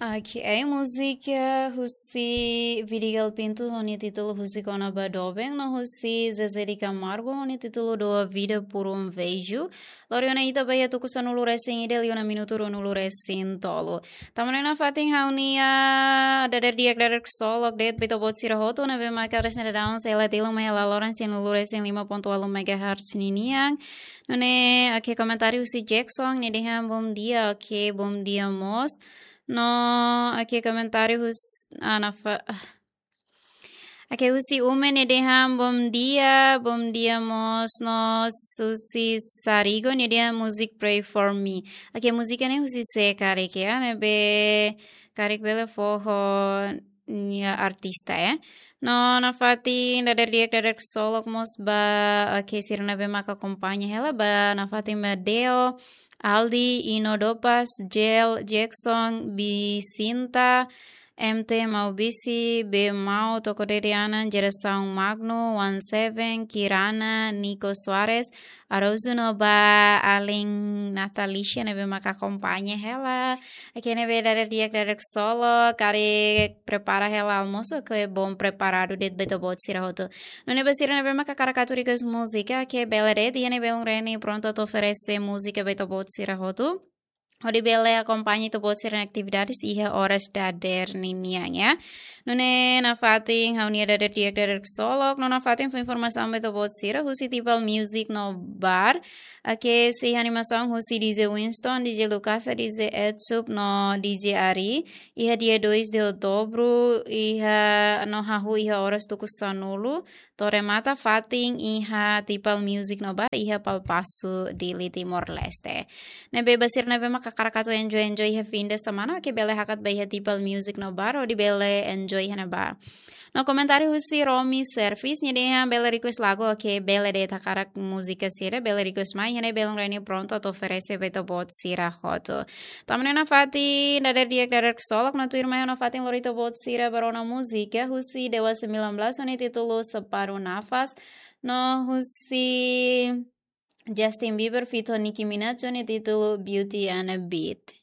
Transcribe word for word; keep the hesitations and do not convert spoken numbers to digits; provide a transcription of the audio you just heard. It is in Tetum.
Ok, múzika husi Vidigal Pinto ho nia títulu Husi Kona ba Doben, no husi Zezé de Camargo ho nia títulu Dou Vida por um Beijo. Lori ona ita ba iha tuku sanulu resin ida, liu ona minutu ruanulu resin tolu. Tama ona iha fatin ha'u-nia dadeer di'ak, dadeer ksolok de'it ba ita-boot sira hotu ne'ebé maka hanesan daudaun sei la tilun mai hela loron cem e um vírgula cinco megahertz ninian. Nune'e, ok, komentáriu husi Jackson, nia dehan bom dia, ok, bom dia mós. No, ok, komentáriu husi, ah, nafa-, ah. Ok, husi Ume, nia dehan bom dia, bom dia mós. No husi Sarigo, nia dehan music Pray for Me. Ok, múzika ne'e husi sé karik, ya, ne'ebé karik bele fó ho nia artista, ya. No nafatin dadeer di'ak, dadeer ksolok mós ba, ok, sira ne'ebé maka akompaña hela ba, nafatin ba Deo, Aldi, Ino Dopas, Jel, Jackson, Bisinta, M T Maubisi, Be Mau, Toko Dede Anan, Gerasaun Magno, One Seven, Kirana, Nico Soares, Araújo no ba alin Natalicia ne'ebé maka akompaña hela. Ok, ne'ebé dadeer di'ak, dadeer ksolok, karik prepara hela almosu, ke bom preparadu de'it ba ita-boot sira hotu. Nune'e ba sira ne'ebé maka hakarak atu request múzika, ke bele de'it, iha ne'e belun Reni prontu atu oferese múzika ba ita-boot sira hotu. Hodi bele akompaña ita-boot sira-nia atividades iha oras dadeer ninian, ya. Nune'e nafatin ha'u-nia dadeer di'ak, dadeer ksolok, no nafatin fó informasaun ba ita-boot sira husi Tipal Music no Bar. Ok, sei iha animasaun husi D J Winston, D J Lucasa, D J Edsup no D J Ari. Iha dia dois de outubro, iha no hahú iha oras tuku sanulu to'o remata fatin iha Tipal Music no Bar iha Palpasu, Dili, Timor-Leste. Ne'ebé ba sira ne'ebé maka hakarak atu enjoy, enjoy iha fim de semana, ke bele hakat ba iha Tipal Music no Bar, hodi bele enjoy iha ne'ebá. No komentáriu husi Romi Service, nia dehan bele request lagu, ok, bele de'it, hakarak múzika sira, bele request mai, iha ne'e belun Reni prontu atu oferese ba ita-boot sira hotu. Tama ona iha fatin dadeer di'ak, dadeer ksolok, no tuirmai ha'u nafatin lori ita-boot sira ba rona múzika husi Dewa Sembilan Belas ho nia títulu Separuh Nafas, no husi Justin Bieber feat Nicki Minaj ho nia títulu Beauty and a Beat.